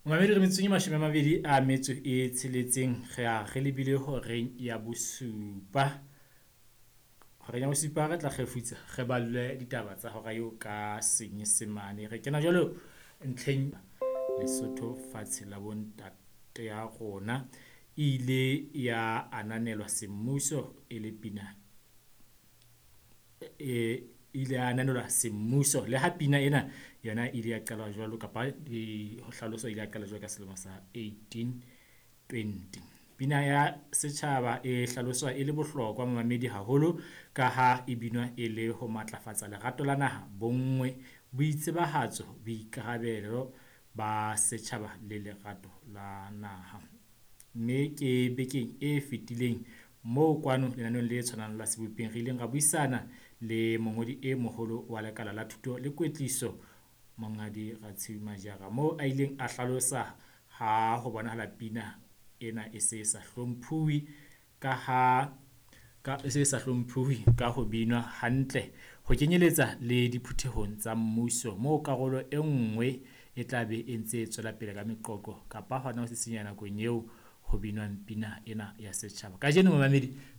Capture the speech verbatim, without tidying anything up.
Momamedi, re metsotsong e mashome a mabedi a metso e tsheletseng, re a re lebile horeng ya bosupa. Horeng ya bosupa re tla kgefutsa, re ballwe ditaba tsa hora eo ka Senyesemane. Re kena jwalo ntlheng Lesotho fatshe la bontate ya rona. E ile ya ananelwa semmuso e le pina e ile ya ananelwa semmuso. Le ha pina ena yona e ile ya qala jwalo kapa e ho hlaloswa ile ya qala jwalo ka selemo sa eighteen twenty. Pina ya setjhaba e hlaloswa e le bohlokwa momamedi haholo ka ha e binwa e le ho matlafatsa lerato la naha, bonngwe, boitsebahatso, boikarabelo ba setjhaba le lerato la naha. Mme ke bekeng e fetileng moo kwano lenaneong le tshwanang la Sebopeng re ileng ra buisana le mongodi e moholo wa lekala la thuto le kwetliso, Monghadi Ratshiu Majara, moo a ileng a hlalosa ha ho bonahala pina ena e se sa hlomphuwe ka ha ka e se sa hlomphuwe ka ho binwa hantle ho kenyeletsa le diphuthehong tsa mmuso moo karolo e nngwe e tla be e ntse e tswela pele ka meqoqo kapa hona ho sisinya nakong eo ho binwang pina ena ya setjhaba. Kajeno momamedi.